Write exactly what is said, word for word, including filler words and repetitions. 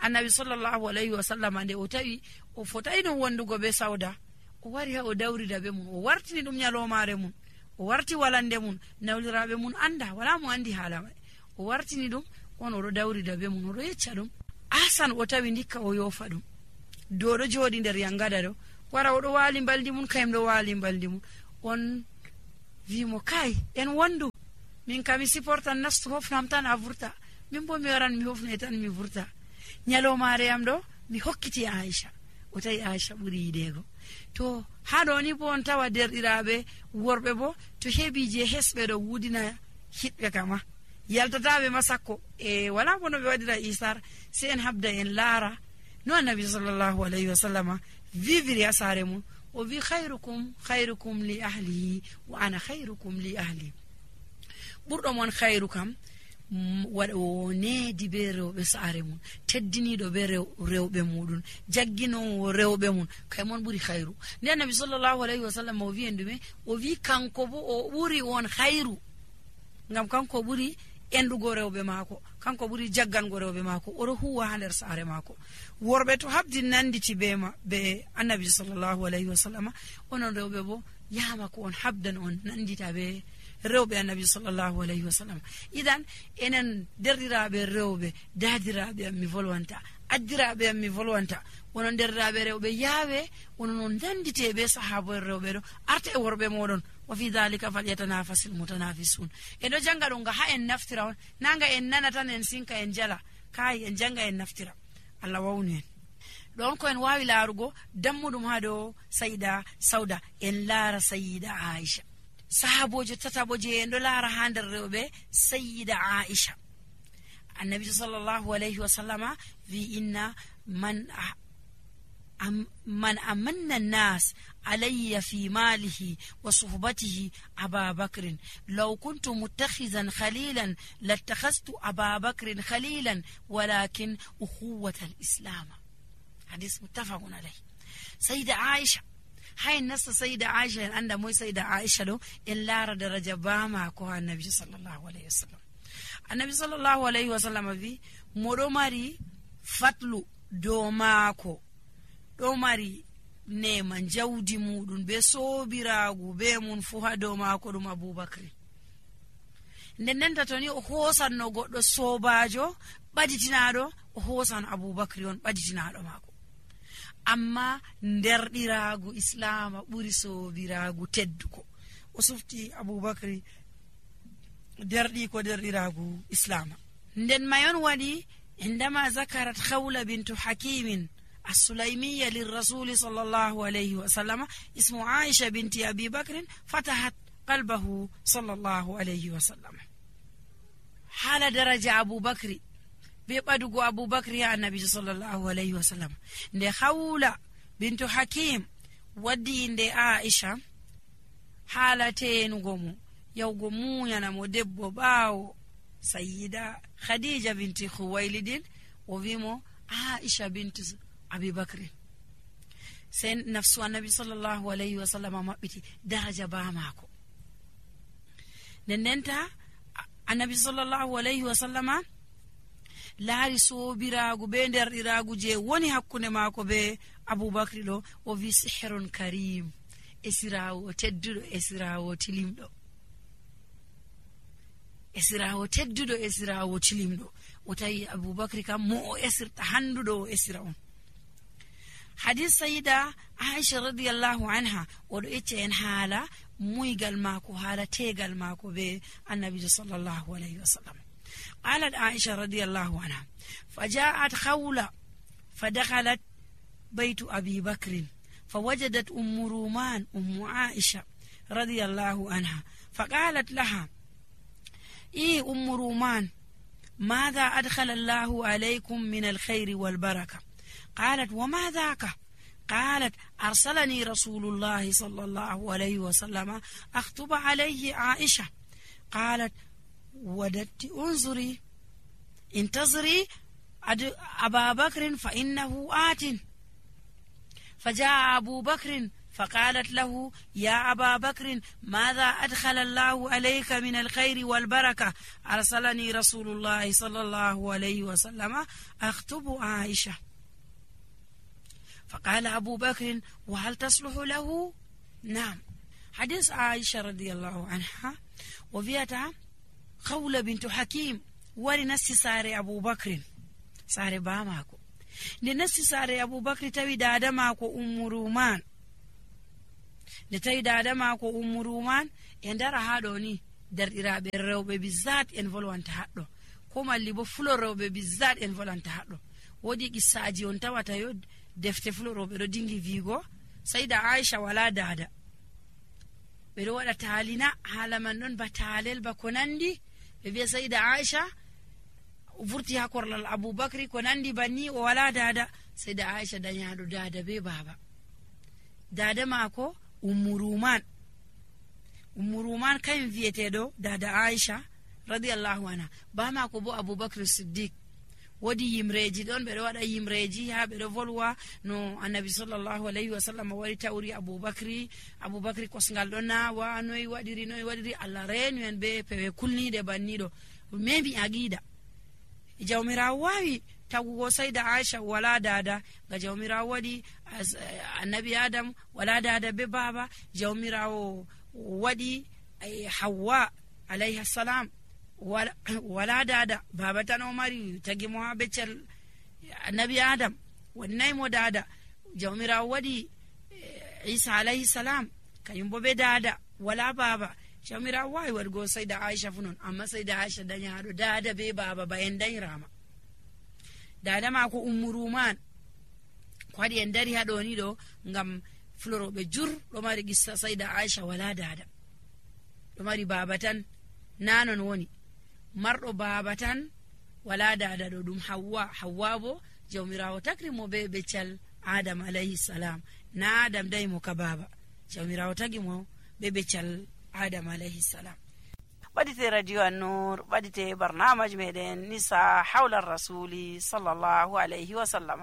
annabi sallallahu alaihi wa sallam nde o tawi o fotai no wondugo be Sauda o wari ha o dawrida be mun o wartini dum nyalomare mun o warti walande mun nawlirabe mun anda wala mo andi hala mai o wartini dum on o do dawrida be mun o do yecca dum asan o tawi ndikka o yofa dum do do jodi nder yangada do wara o do wali baldi mun kayim do wali baldi mun on wi mo kai en wondu min kami supportan nastu hofnam tan a vurta min bo mi waran mi hofne tan mi vurta nyalomare am do mi hokkiti Aisha o tawi Aisha buri yidego to hado ni bo on tawa derdiraabe worbe bo to hebi je hesbe do wudina hitbe kama yaltatabe masakko e wala bono be wadira isar se en habda en lara no annabi sallallahu alaihi wasallama viviri asare mun o vi khairukum khairukum li ahlihi wa ana khairukum li ahli burdo mon khairukum wado ne di be rewbe saare mun teddini do be rewbe mudun jaggino rewbe mun kay mon buri khairu ne annabi sallallahu alaihi wasallam o vi endume o vi kanko bo o buri won khairu ngam kanko buri endugo rewbe mako kanko buri jaggango rewbe mako o ro huwa hander saare mako worbe to habdi nanditi be ma be annabi sallallahu alaihi wasallam onon rewbe bo yama ko on habdan on nandita be rewbe annabi sallallahu alaihi wasallam idan enen derdiraabe rewbe dadiraabe mi volwanta addiraabe mi volwanta wonon derdiraabe rewbe yaawe wonon dandite be sahabo rewbe do arte e worbe modon wa fi dhalika falyatanafasul mutanafisun edo janga do nga ha en naftira on nanga en nanata en sinka en jala kai en janga en naftira Allah wawni don ko en wawi larugo dammudum hado Saida Sauda en lara Sayyida Aisha sahaboje tataboje en do lara hander rewbe Sayyida Aisha annabi sallallahu alaihi wasallama vi inna man أم من أمن الناس علي في ماله وصحبته أبا بكر لو كنت متخذا خليلا لاتخذت أبا بكر خليلا ولكن أخوة الإسلام حديث متفق عليه سيدة عائشة هاي الناس سيدة عائشة عند مو سيدة عائشة له إلا درجة باما كوها النبي صلى الله عليه وسلم النبي صلى الله عليه وسلم في مرمري فتلو دوماكو do mari neman jawdi mudun be sobiraagu be mun fu ha do mako dum Abubakar nden nden tatoni o hosan no goddo sobajo baditinaado o hosan Abubakar on baditinaado mako amma nderdiraagu islam buri sobiraagu tedduko o sufti Abubakar derdi ko derdiraagu islam nden mayon wadi indama zakarat Khawla bint Hakim السليمية للرسول صلى الله عليه وسلم اسم عائشة بنت أبي بكر فتحت قلبه صلى الله عليه وسلم حال درجة أبو بكر بيبادو أبو بكر يا النبي صلى الله عليه وسلم دي خولة بنت حكيم ودي دي عائشة حالتين قومو يوقمو ينمو دبو باو سيدة خديجة بنت خويلد وفيمو عائشة بنت أبي بكر سين نفس النبي صلى الله عليه وسلم مبتي درجة باماكو نننتا النبي صلى الله عليه وسلم لا رسو براغو بندر إراغو جي وني حكوني ماكو بي أبو بكر لو وفي سحر كريم إسراو تددو إسراو تليمدو إسراو تددو إسراو تليمدو وتاي أبو بكر كم مو إسر تحندو إسراو حديث سيدة عائشة رضي الله عنها ودعيتين حالة مويقال ماكو حالة تيقال ماكو بي النبي صلى الله عليه وسلم قالت عائشة رضي الله عنها فجاءت خولة فدخلت بيت أبي بكر فوجدت أم رومان أم عائشة رضي الله عنها فقالت لها إيه أم رومان ماذا أدخل الله عليكم من الخير والبركة قالت وما ذاك قالت أرسلني رسول الله صلى الله عليه وسلم أخطب عليه عائشة قالت وددت انظري انتظري أبا بكر فإنه آت فجاء أبو بكر فقالت له يا أبا بكر ماذا أدخل الله عليك من الخير والبركة أرسلني رسول الله صلى الله عليه وسلم أخطب عائشة. فقال أبو بكر وهل تصلح له؟ نعم. حديث عائشة رضي الله عنها وفيها خولة بنت حكيم ولنسي ساري أبو بكر ساري باماكو لنسي ساري أبو بكر توي دادا ماكو أم رومان نتوي دادا ماكو أم رومان يندر هادوني در إرابي الروبة بالذات انفلوان تحدو كما اللي بفلو الروبة بالذات انفلوان تحدو ودي قصاجي انتوا تيود دفت فلو الروبة رو دينجي فيغو سيدة عائشة ولا دادا ɓeɗo waɗa taalina haala man ɗon ba taalel ba ko nandi ɓe wiya sayda aicha vurti ha korlal aboubacry ko nandi banni o wala dada sayda aicha dañaɗo dada be baba dada maako ummu ruman ummu ruman kañum wiyeteɗo dada aicha radiallahu anha ba maako bo aboubacry siddiq wodi yimreji ɗon ɓeɗo waɗa yimreji ha ɓeɗo volwa no annabi sallllahu alayhi wa sallam wari tawri aboubacry aboubacry kosgal ɗo nawa noyi waɗiri noyi waɗiri allah reenu en be pewe kulniɗe banniɗo memi aqida jawmirawo wawi tagugo sayda aicha wala dada ga jawmirawo waɗi annabi adam wala dada be baba jawmirawo waɗi hawwa alayhi salam wala, wala dada baba tan o mari tagi mo ha beccel annabi adam wonnay mo dada jawmirawo waɗi isa alayhi salam kañum bo be dada wala baba jawmirawo wawi waɗgo sayda aicha fu non amma sayda aicha dañaɗo dada be baba ba en dañirama dada mako ummu ruman ko waɗi en dari haɗoni ɗo ngam floroɓe jur ɗo mari qissa sayda aicha wala dada ɗo mari baba tan nanon woni marɗo baba tan wala dada ɗo ɗum hawwa hawwa bo jawmirawo takri mo be beccal adam alayhi salam na adam dayi mo ka baba jawmirawo tagi mo be beccal adam alayhi salam. ɓaɗite radio an-nur ɓaɗite barnamaji meɗen nisa hawla rasuli sallllahu alayhi wa sallam.